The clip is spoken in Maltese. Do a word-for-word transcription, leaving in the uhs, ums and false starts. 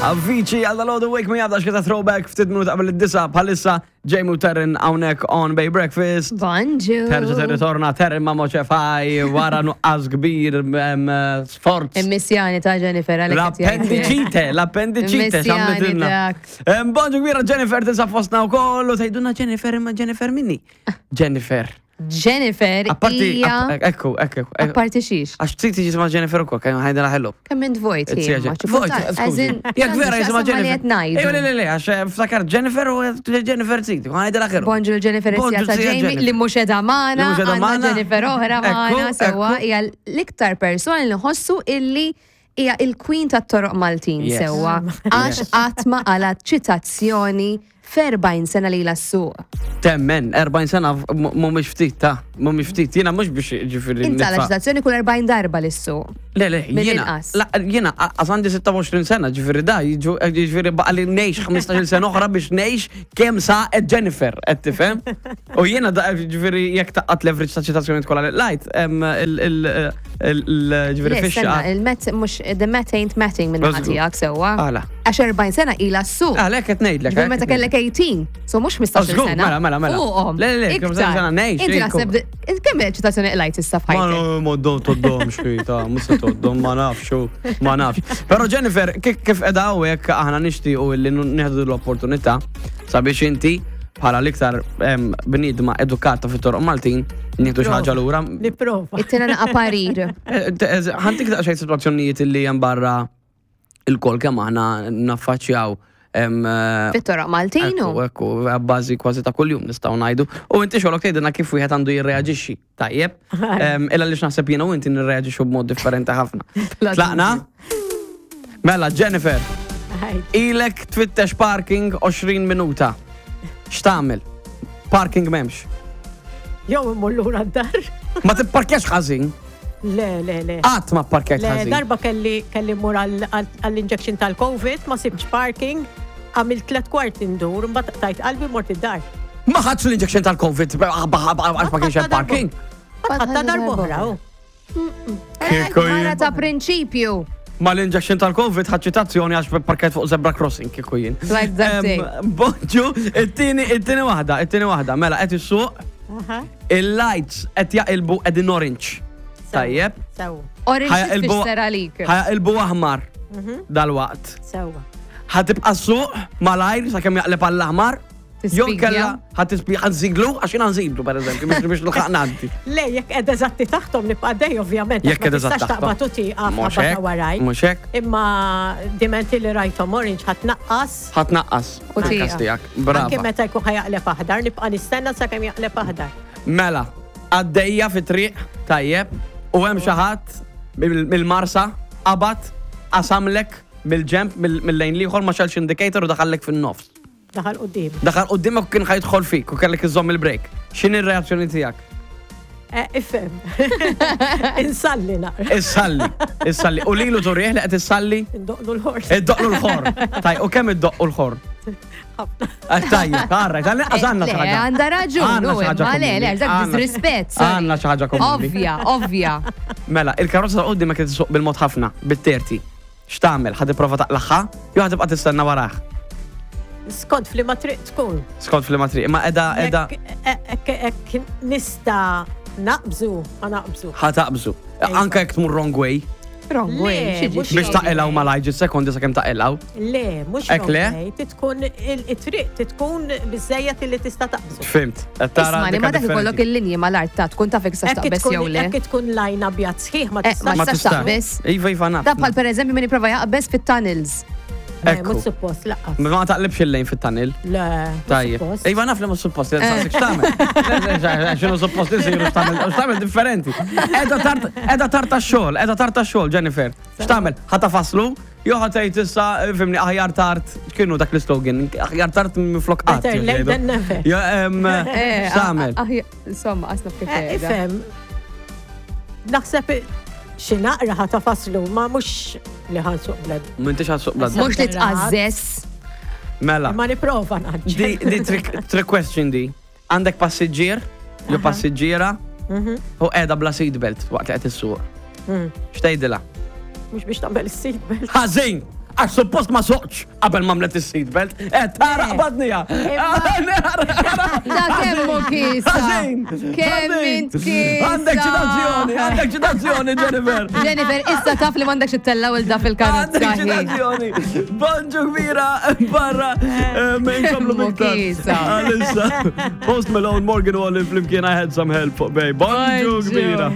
Avicii għal dal Wake Me Up, dax throwback ftit minuta qabel id-disgħa. Bħalissa Jamie u Terren hawnhekk on Bay Breakfast. Bonġu. Terġa territorna Terren ma' Moċefaj wara nuqqas kbir em, sforz. Immissjani ta' Jennifer għalek qed jgħid. L-appendicite, l-appendicite, Immissjani xamlitilna. dak. Em, Bonġu kbira, Jennifer tinsab fostna u koll u tgħidulna Jennifer, imma Jennifer minni. Jennifer. Jennifer Apparti, hija. ap- ekku, ekku, ekku. Apparti xiex. Għax trid tiġi jisimha Jennifer ukoll, kemm ħajdela hello. Kemm int vojt hi, ma xi Vojt, kultant- skużi. as in, Jekk vera jisimha x'jaqsam ma li Jennifer. qed ngħidu. Ejwa, le, le, le, għax eh, ftakar Jennifer u Jennifer Ziti, ħajdela hello. Bonġu l-Jennifer Bonġu Sija ta' zija Jamie Jennifer. li mhux edha magħna, Li mhux edha għandna magħna. Jennifer oħra Ekku, magħna sewwa ekku. hija l-iktar persuna li nħossu illi hija il-queen tat-toroq Maltin Yes. sewwa għax qatt ma qalat ċitazzjoni f'erbgħin sena li s-suq. Temmen, erbgħin sena mhumiex ftit, ta' mhumiex ftit. Jiena mhux biex ġifieri. Inta la nitfa' ċitazzjoni kull erbgħin darba lis-suq. Le, le, jiena. Mill-inqas. La, jiena, għax għandi sitta u għoxrin sena, ġifieri da, jiġu- ġifieri baqa li ngħix ħmistax-il sena oħra biex ngħix kemm saqet Jennifer, qed tifhem? U jiena da, ġifieri jekk taqgħat l-average ta' ċitazzjoni kollha li lajt, em, il- il- il- il- ġifieri Le, stenna, fixxa. il-math mhux the math ain't mathing minn Żgur. tiegħek sewwa. Għala. Għax erbgħin sena ila s-suq. Għalhekk qed ngħidlek. Ġifieri meta kellek tmintax, so mhux ħmistax-il Żgur, sena. mela, mela, mela. Fuqhom. Le, le, le, kemm Iktar. sena ngħix, Inti iktar. naħseb kemm ċitazzjoni qlajt issa f'ħajtek? Ma ma toddom xkita, mhux se toddom, ma nafx, ma nafx. Però Jennifer, kif kif qeda hawnhekk, aħna nixtiequ li nieħdu l-opportunità sabiex inti bħala l-iktar em, bniedma edukata fit-toroq Maltin nieħdu xi ħaġa lura. Nipprova. Ittina naqa parir. Eh, ħa ntik daqsxejn sitwazzjonijiet li hemm barra il-kol kemm aħna naffaċċjaw em, eh, Fit-toroq Maltin u. Ekku, ekku, bażi kważi ta' kuljum nistgħu ngħidu. U inti xogħolok tgħidilna kif wieħed għandu jirreaġixxi. Tajjeb. Em, Illa li naħseb jiena u inti nirreaġixxu b'mod differenti ħafna. Tlaqna? Mela, Jennifer, ilek tfittex parking għoxrin minuta. X'tagħmel? Parking m'hemmx. Jew immur lura d-dar. Ma tipparkjax ħażin. Le, le, le. Qatt ma pparkjajt Le, ħażin. darba kelli kelli mmur għall-injection tal-Covid, ma sibx parking, għamilt tlet kwart indur, mbagħad tajt qalbi, mort id-dar. Ma ħadx l-injection tal-Covid għax ma kienx hemm parking. Ħatta darb'oħra, u. Kieku jien- Mara ta' prinċipju. Ma l-injection tal-Covid ħadt ċitazzjoni għax parkajt fuq zebra crossing kieku jien. Like that Em, day. Bonġu, it-tieni it-tieni waħda, it-tieni waħda, mela qed issuq, Aha. il-lights qed jaqilbu qegħdin orange. Tajjeb. Sewa, Orange Ħajaqilbu- tfisser għalik. Ħa jaqilbu aħmar dal-waqt. sewa. Ħa tibqa' ssuq malajr sakemm jaqleb għall-aħmar? Jew Tispigja. kella ħa tispi ħa nżiglu, għax jiena nżiglu pereżempju biex biex nilħaq ngħaddi. Le, jekk qed eżatti taħtom nibqa' dej, ovvjament. Jekk ma qed eżatt tistax taħtom. taqbad u tieqaf Mhux ħabba hekk, ta' waraj. mhux hekk. Imma dimenti li rajtom orange, ħa tnaqqas. Ħa tnaqqas. U Ankas tieqaf. tiegħek. Anke Brava. meta jkun ħa jaqleb aħdar, nibqa' nistenna sakemm jaqleb aħdar. Mela, għaddejja fi triq, tajjeb, u hemm xi ħadd mill-Marsa qabad qasamlek mill-ġemp mill-lejn l-ieħor, ma xegħelx indicator u daħallek fin-nofs. Daħal quddiem. Daħal quddiemek u kien ħa jidħol fik u kellek iżomm il-brake. X'inhi r-reazzjoni tiegħek? Eh, Ifhem. Insalli naqra. Issalli, issalli. U lilu turih li qed issalli? Indoqlu l-ħorn. Iddoqlu l-ħorn. Taj, u kemm iddoqqu l-ħorn? Ħafna. Eh, Tajjeb, għarra, tal-inqas għandna Le, xi ħaġa. għandha raġun, Għandna u xi ħaġa imma le, le, komuni. dak Għandna- disrispett. sorry. Għandna xi ħaġa komuni. Ovvja, ovvja. Mela, il-karozza ta' quddiemek qed isuq bil-mod ħafna, bit-terti. X'tagħmel? Ħa tipprova taqlagħha jew ħa tibqa' tistenna warah? Skont f'liema triq tkun. Skont f'liema triq, ma qiegħda qiegħda Jekk jekk nista' naqbżu, ma naqbżu. Ħa taqbżu. Anke jekk tmur wrong way Wrong way, Le, xieġi. mhux biex taqilgħu malajr sekondi sakemm taqilgħu. Le, mhux Ek le? wrong way, titkun il-triq titkun biżejjed li tista' taqbżu. Fhimt. Qed tara Isma' li dika ma dak ikollok differenti. il-linji mal-art ta' tkun taf jekk tistax Hekk taqbeż tkun jew le. hekk tkun lajn abjad sħiħ ma Eh, tistax. ma tistax taqbeż. Iva, iva, naf. Da bħal per eżempju min jipprova jaqbeż fit-tunnels. Le, Ekku. mhux suppost lanqas. Ma taqlibx il-lejn fit-tunnel. Le, mhux Tajjeb. suppost. Iva, naf li mhux suppost, saqsik x'tagħmel. X'inhu suppost isiru, x'tagħmel, x'tagħmel differenti. Qiegħda tard, qiegħda tard tax-xogħol, qiegħda tard tax-xogħol, Jennifer. X'tagħmel? Ħa tagħfaslu? Jew ħa tgħid issa, fhimni, aħjar tard, x'kienu dak l-slogan? Aħjar tard minflok qatt. Better late than never. Ja, em, Eh, x'tagħmel? ah, ah, Insomma, qasna kif Eh, qiegħda. Ifhem, naħseb xi naqra ħa tagħfaslu, ma mhux li ħa nsuq blad. M'intix ħa ssuq blad. Mhux li tqażżes. Mela. Ma nipprova Di, naġġel. di trick, trick question di. Għandek passiġġier, jew passiġġiera, Mhm. u qiegħda bla seatbelt waqt li qed issuq. Mm. X'tgħidilha? Mhux biex tagħmel is-seatbelt. Ħażin! Għax suppost ma soqtx qabel ma għamlet is-seatbelt. Eh, tara qbadnija. Ta' kemm hu kiesa. Kemm int kiesa. Għandek ċitazzjoni, għandek ċitazzjoni, Jennifer. Jennifer, issa taf li m'għandekx ittella' lil da fil-karozza. Għandek ċitazzjoni. Bonġu kbira, barra, inkomplu Kemm hu biktar. kiesa. Għalissa, Post Malone, Morgan Wallen, flimkien I Had Some Help fuq Bay. Bonġu Bonġu. kbira.